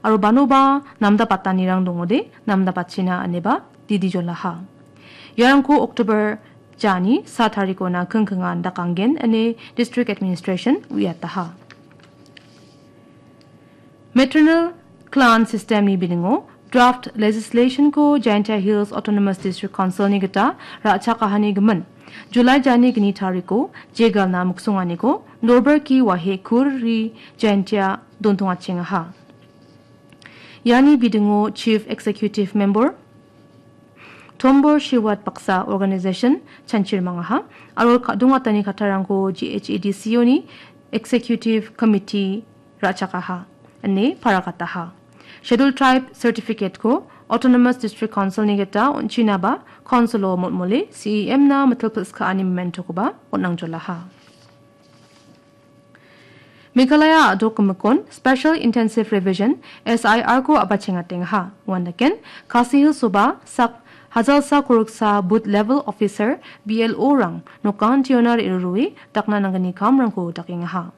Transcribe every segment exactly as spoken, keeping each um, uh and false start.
aro banoba namdapatanirang dongode namdapatchina ineba didi jolaha. Iarangko October jani sa tarikona kingkingan dakanggen ine District Administration uiataha. Maternal Clan System ni biningo draft legislation ko Jaintia Hills Autonomous District Council ni gita ra·chakahani gimin July jani gni tariko jegalna miksonganiko Norberki Wahe Kur Ri Jaintia dontongachengaha. Iani bidingo Chief Executive Member Tombor Shiwat baksa organization chanchir mangaha aro ka-, dongatani kattarangko G H A D C O ni Executive Committee ra·chakaha ine paragataha. Schedule Tribe Certificate ko Autonomous District Council ni gita on·chinaba Council o motmole C E M na mitil pilskaani mementokoba on·angjolaha. Meghalaya a·dok gimikon Special Intensive Revision, S I R ko a·bachengatengaha. Uandaken, Khasi Hills-oba sak hajalsa koroksa Booth Level Officer, B L O rang nokantiona re·rurue dakna nanggni kamrangko dakengaha.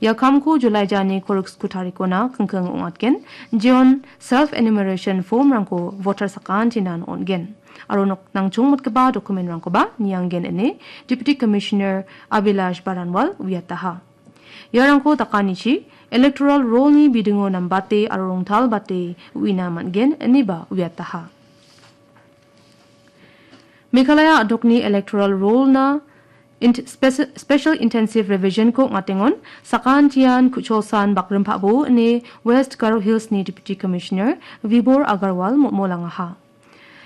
Ia kamko July jani koroksko tarikona kingking ong·atgen, jeon self enumeration form-rangko voter sakantinan on·gen. Aro nok-, nangchongmotgipa document-rangkoba nianggen ine Deputy Commissioner Abhilash Baranwal uiataha. Iarangko dakanichi electoral roll-ni bidingo nambate aro rongtalbate uina man·gen ineba uiataha. Meghalaya a·dokni electoral roll-na int-, speci-, Special Intensive Revision-ko ong·atengon sakantian Kucholsan Bakrimpabo ine West Garo Hills-ni Deputy Commissioner Vibhor Agarwal motmolangaha.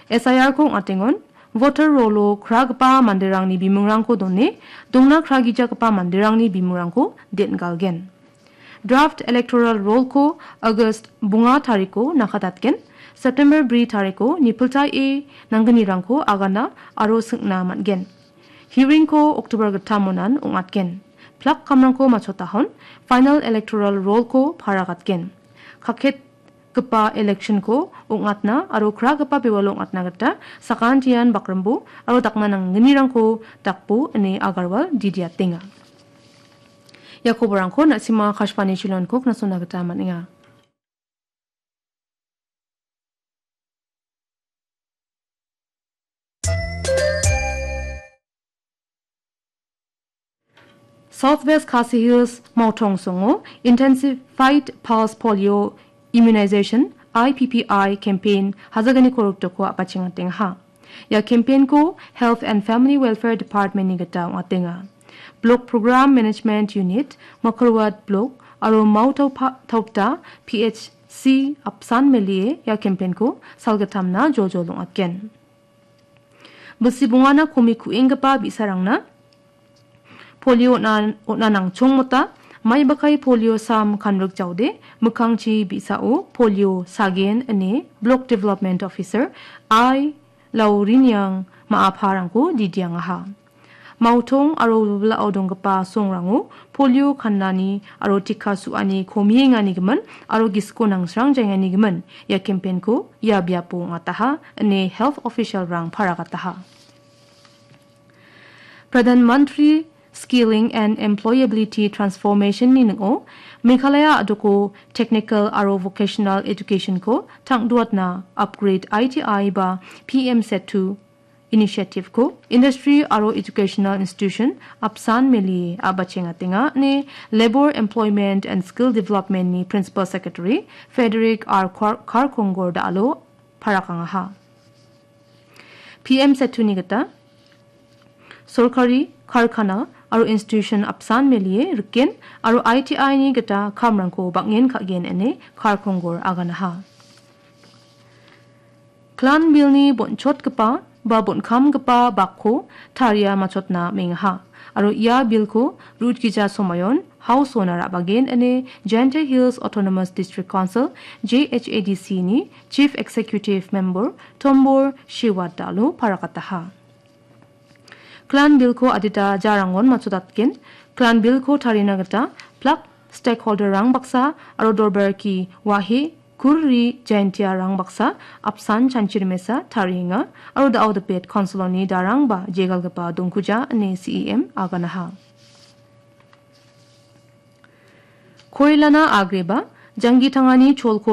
S I R-ko ong·atengon, voter roll-o kragipa manderangni bimungrangko done, dongna kragijagipa manderangni bimungrangko den·galgen. Draft electoral roll-ko August bonga tariko nakatatgen, September bri tariko nipiltae nanggnirangko agana aro singna man·gen. Hearing-ko October gittam monan ong·atgen. Plak kamrangko matchotahon, final electoral roll-ko paragatgen. Kaket gipa election-ko ong·atna aro kragipa bewalo ong·atna gita sakantian bakrimbo aro dakna nanggnirangko dakbo ine Agarwal didiatenga. Ia koborangko na·sima Akashvani Shillong-ko knasona gita man·enga. South West Khasi Hills Maotong songo Intensified Pulse Polio Immunization, I P P I, campaign hajagani korokdoko a·bachengatengaha. Ia campaign-ko Health and Family Welfare Department-ni gita ong·atenga. Block Program Management Unit, Makarwat Block, aro Maotaupa-, Taupta P H C apsan melie ia campaign-ko salgittamna joljol ong·atgen. Bilsi bongana komi ku·enggipa bi·sarangna polio on·a-, on·a nangchongmota, maibakai polio sam kanrik jaode, mikkangchi bi·sao polio sagen ine Block Development Officer I Lauriniang ma·aparangko didiangaha. Maotong aro wilwilao donggipa songrango polio kannani aro tika su·ani komiengani gimin aro gisiko nangsrang jaengani gimin ia campaign-ko ia biapo ong·ataha ine health official-rang paragataha. Pradhan Mantri Skilling and Employability Transformation-ni ning·o Meghalaya a·doko technical aro vocational education-ko tangduatna upgrade I T I ba P M Setu Initiative-ko Industry aro Educational Institution apsan melie a·bachengatenga ine Labour, Employment and Skill Development-ni Principal Secretary Frederick R Kar-, Karkongor Dalo parakangaha. P M Setu-ni gita sorkari, karkana aro institution apsan melie riken aro I T I-ni gita kamrangko bang·en ka·gen ine Karkongor aganaha. Clan Bill-ni bonchotgipa ba bonkamgipa bakko taria matchotna mengaha. Aro ia Bill-ko rutgija somoion House-ona ra·bagen ine Jaintia Hills Autonomous District Council, J H A D C-ni Chief Executive Member Tombor Shiwat Dalo paragataha. Clan Bill-ko adita jarangon matchotatgen. Clan Bill-ko tarina gita plak stakeholder-rang baksa aro Dorbarki Wahe Kurri Jaintia-rang baksa apsan chanchirimesa tarienga aro da·o dipet council-oni darangba jegalgipa dongkuja ine C E M aganaha. Koilana agreba, janggi tangani cholko